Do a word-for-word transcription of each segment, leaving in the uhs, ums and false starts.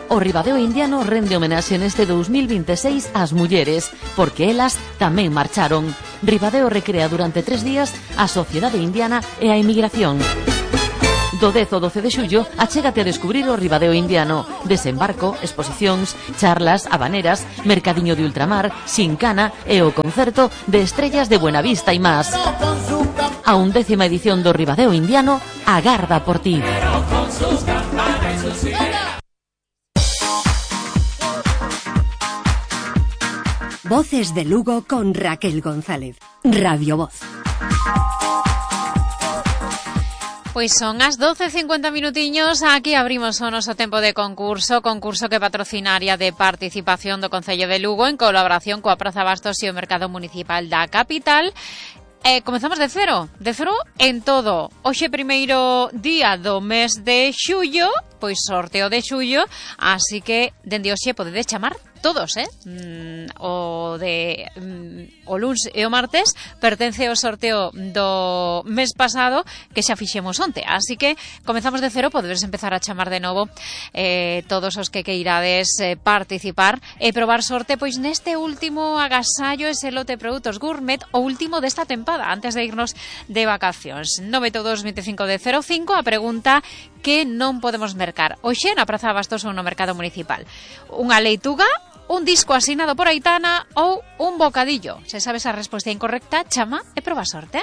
O Ribadeo Indiano rende homenaxe neste dous mil vinte e seis ás mulleres, porque elas tamén marcharon. Ribadeo recrea durante tres días a sociedade indiana e a emigración. Do dez ao doce de xullo, achégate a descubrir o Ribadeo Indiano. Desembarco, exposicións, charlas, habaneras, mercadiño de ultramar, xincana e o concerto de Estrellas de Buenavista e más. A undécima edición do Ribadeo Indiano agarda por ti. Voces de Lugo con Raquel González. Radio Voz. Pois son as doce e cincuenta minutiños, aquí abrimos o noso tempo de concurso, concurso que patrocinaria de participación do Concello de Lugo en colaboración coa Praza Bastos e o Mercado Municipal da capital. Eh, comezamos de cero, de cero en todo. Hoxe primeiro día do mes de xullo, pois sorteo de xullo, así que dende hoxe podedes chamar todos, eh? Mm, o de mm, o luns e o martes pertence ao sorteo do mes pasado que xa fixemos onte, así que comezamos de cero, podedes empezar a chamar de novo eh, todos os que queirades eh, participar e probar sorte pois neste último agasallo ese lote de produtos gourmet, o último desta tempada antes de irnos de vacacións. nove oito dos veinticinco de cero cinco, a pregunta que non podemos mercar hoxe na Praza Bastos ou no Mercado Municipal: unha leituga, un disco asinado por Aitana ou un bocadillo. Se sabes a resposta incorrecta, chama e proba sorte.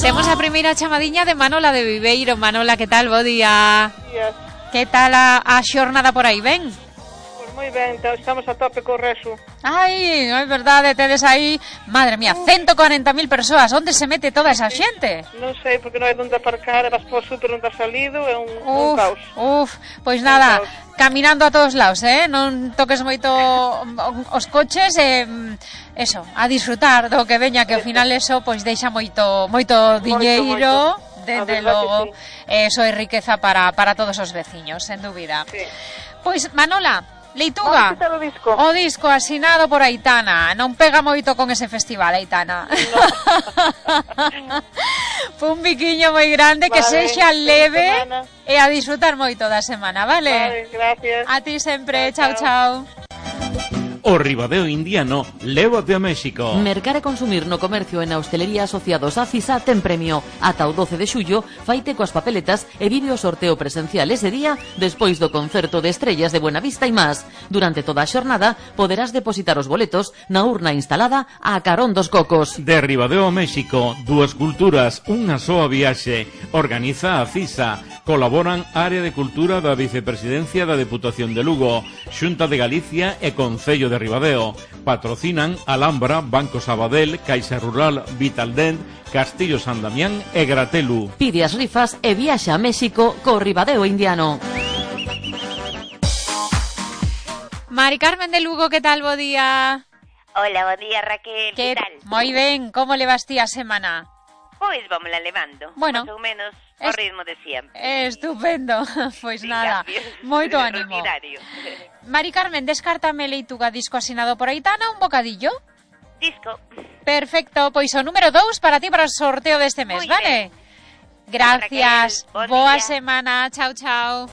Temos a primeira chamadiña de Manola de Viveiro. Manola, que tal? Bo día. Días. Que tal a, a xornada por aí, ben? Pois moi ben, estamos a tope co reso. Ai, é verdade, tedes aí, madre mía, ciento cuarenta mil persoas. Onde se mete toda esa xente? Non sei, porque non hai onde aparcar, vas por super onde ha salido, é un, uf, un caos. Uf, pois nada, caminando a todos lados, eh? Non toques moito os coches e eh, eso, a disfrutar do que veña, que ao final eso pois deixa moito moito diñeiro, dende logo, sí. Eso é riqueza para para todos os veciños, sen dúbida. Sí. Pois Manola, leituga, o disco. o disco asinado por Aitana. Non pega moito con ese festival, Aitana. No. Un biquiño moi grande, vale, que sexa leve e a disfrutar moito da semana, vale? Vale, gracias. A ti sempre, chao, chao. O Ribadeo Indiano lévate a México. Mercar e consumir no comercio e na hostelería asociados a CISA ten premio. Ata o doce de xullo, faite coas papeletas e vive o sorteo presencial ese día despois do concerto de Estrellas de Buenavista e más. Durante toda a xornada poderás depositar os boletos na urna instalada a carón dos cocos. De Ribadeo a México, dúas culturas, unha soa viaxe. Organiza a CISA. Colaboran Área de Cultura da Vicepresidencia da Deputación de Lugo, Xunta de Galicia e Concello de Ribadeo. Patrocinan Alhambra, Banco Sabadell, Caixa Rural, Vitaldent, Castillo San Damián e Gratelu. Pide as rifas e viaxa a México co Ribadeo Indiano. Mari Carmen de Lugo, que tal? Bo día. Hola, bo día, Raquel, que tal? Moi ben, como levas ti a semana? Pois vamos la levando, bueno, más ou menos ao ritmo de siempre. Estupendo, pois nada, moito ánimo. Mari Carmen, descártame leituga, disco asinado por Aitana, un bocadillo? Disco. Perfecto, pois o número dous para ti para o sorteo deste mes, muy vale? Bien. Gracias, Raquel, boa semana, chao, chao.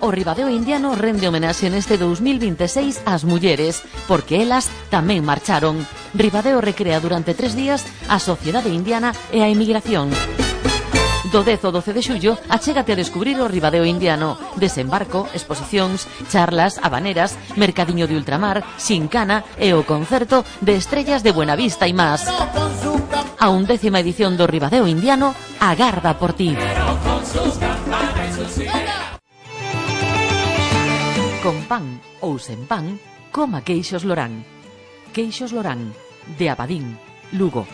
O Ribadeo Indiano rende homenaxe neste dous mil vinte e seis ás mulleres, porque elas tamén marcharon. Ribadeo recrea durante tres días a sociedade indiana e a emigración. Do dez ao doce de xullo, achégate a descubrir o Ribadeo Indiano. Desembarco, exposicións, charlas, habaneras, mercadiño de ultramar, xincana e o concerto de Estrellas de Buenavista e más. A undécima edición do Ribadeo Indiano agarda por ti. Con pan ou sen pan, coma queixos Lorán. Queixos Lorán, de Abadín, Lugo.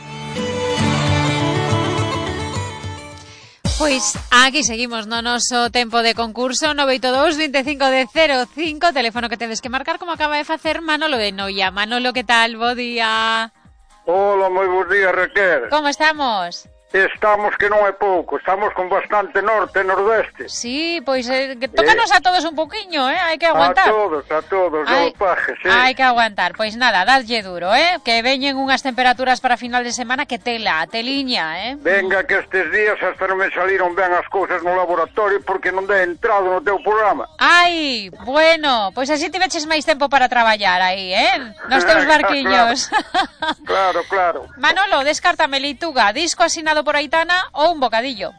Pois aquí seguimos no noso tempo de concurso. Nove oito dos veinticinco de cero cinco, teléfono que tedes que marcar, como acaba de facer Manolo de Noia. Manolo, que tal? Bo día. Hola, moi bons días, Raquel. Como estamos? Estamos que non é pouco, estamos con bastante norte e nordeste. Sí, pois eh, que tócanos eh, a todos un poquinho, eh, hai que aguantar. A todos, a todos, hai, pajes, eh. hai que aguantar, pois nada, dadlle duro, eh, que veñen unhas temperaturas para final de semana que tela, teliña, eh. Venga, que estes días hasta non me saliron ben as cousas no laboratorio porque non dei entrado no teu programa. Ai, bueno, pois así tiveches máis tempo para traballar aí, eh, nos teus barquiños. Claro, claro. Manolo, descártame Leituga, disco asinado por Aitana ou un bocadillo?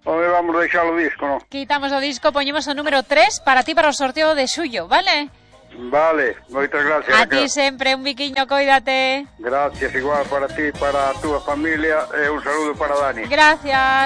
Home, vamos deixar o disco, non? Quitamos o disco, poñemos o número tres para ti para o sorteo de suyo, vale? Vale, moitas gracias. A ti sempre, un biquiño, coídate. Gracias, igual para ti, para a túa familia e un saludo para Dani. Gracias.